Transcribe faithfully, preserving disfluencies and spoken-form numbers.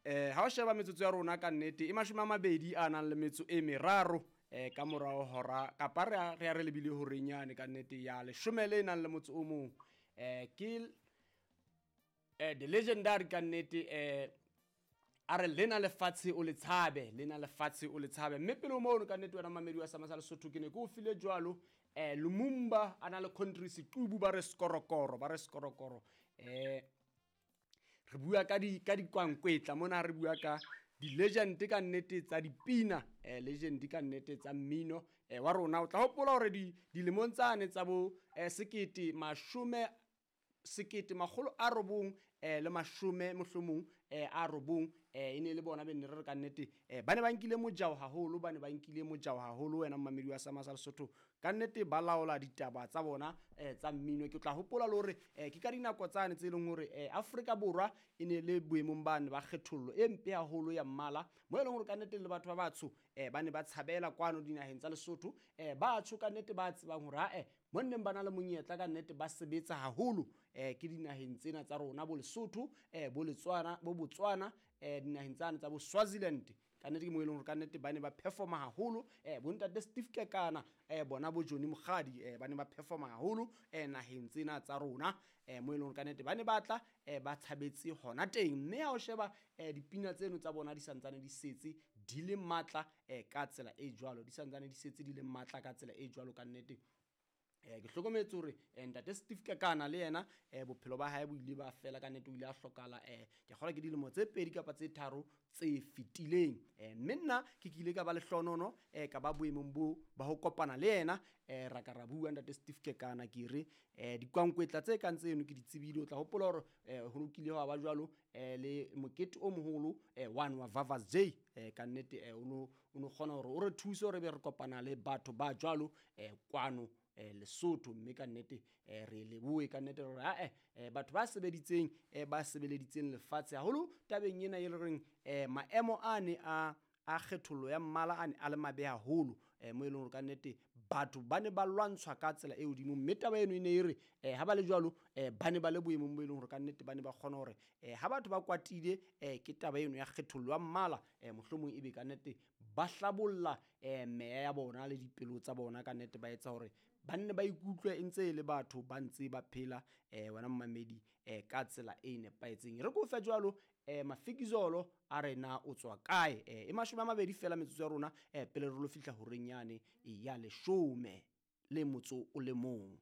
Eh ha o sheba metsotso ya rona ka nnete e mashome a mabedi a nang le metso e meraro eh ka morao hora kapa re a re a re lebile horeng yane ka nnete ya leshome le nang le motso o mong. Eh ke eh the legendary ka nnete eh a re lena lefatshe o le tshabe, lena lefatshe o le tshabe. Mme pele mono ka nnete wena mamedi wa Sama sa Lesotho ke ne ke o file jwalo eh Lumumba a na le country Sequbu ba re skorokoro ba re skorokoro. Eh re bua ka di ka dikwankwetla mona, re bua ka di-legend ka nnete tsa dipina, eh legend ka nnete tsa mmino eh wa rona. O tla hopola hore di dilemong tsane tsa bo eh, sekete mashome sekete makgolo a robong eh le mashome mohlomong eh a robong eh e ne le bona be ne re re ka nnete eh ba ne ba nkile mojao haholo, ba ne ba nkile mojao haholo wena mmamedi wa Sama sa Lesotho ka nnete ba laola ditaba tsa bona eh tsa mmino. Ke tla hopola le hore eh ke ka dinako tsane tse leng hore eh Afrika Borwa e ne le boemong bane ba kgethollo e mpe haholo ya mmala, mo e leng hore ka nnete le batho ba batsho eh ba ne ba tshabela kwano dinaheng tsa Lesotho. Eh batho ka nnete ba tsebang hore ha eh mo nneng ba na le monyetla ka nnete ba sebetsa haholo eh ke dinaheng tsena tsa rona bo Lesotho eh bo Letswana bo Botswana eh dinaheng tsane tsa bo Swaziland ka nnete ke mo e leng hore ka nnete ba ne ba performa haholo. Eh bo ntate Steve Kekana eh bona bo Johnny Mokgadi eh ba ne ba performa haholo eh naheng tsena tsa rona eh mo e leng hore ka nnete ba ne ba tla eh ba tshabetse hona teng. Mme ha o sheba eh dipina tseno tsa bona di santsane di setse di le matla eh ka tsela e jwalo, di santsane di setse di le matla ka tsela e jwalo ka nnete. Eh ke hlokometse hore eh ntate Steve Kekana le yena eh bophelo ba hae bo ile ba fela ka nnete, o ile a hlokahala eh ke kgolwa ke dilemo tse pedi kapa tse tharo tse fetileng. Eh mme nna ke kile ka ba lehlonono eh ka ba boemong bo ba ho kopana le yena eh ra ka ra bua ntate Steve Kekana ke re eh dikwankwetla tse kang tseno ke di tsebile. O tla hopola hore eh ho lokile hwa ba jwalo eh le mokete o moholo eh one wa Vavas J eh ka nnete eh o no o no kgona hore o re thuse hore be re kopana le batho ba jwalo eh kwano eh Lesotho. Mme ka nnete eh re lebohe ka nnete hore ha eh batho ba sebeditseng eh ba sebeleditseng lefatshe haholo tabeng ena e le reng eh maemo a ne a a kgethollo ya mmala a ne a le mabe haholo eh mo e leng hore ka nnete batho ba ne ba lwantshwa ka tsela e hodimo. Mme taba eno e ne e re eh ha ba le jwalo eh ba ne ba le boemong bo e leng hore ka nnete ba ne ba kgona hore eh ha batho ba kwatile eh ke taba eno ya kgethollo ya mmala eh mohlomong ebe ka nnete ba hlabolla eh meya ya bona le dipelo tsa bona ka nnete ba etsa hore ba nne ba ikutlwe e ntse e le batho ba ntse ba phela eh wena mmamedi eh ka tsela e nepahetseng. Re ko fe jwalo eh Mafikizolo a re na o tswa kae eh e mashome a mabedi fela metsotso ya rona eh pele re lo fihla horeng yane ya leshome le motso o le mong.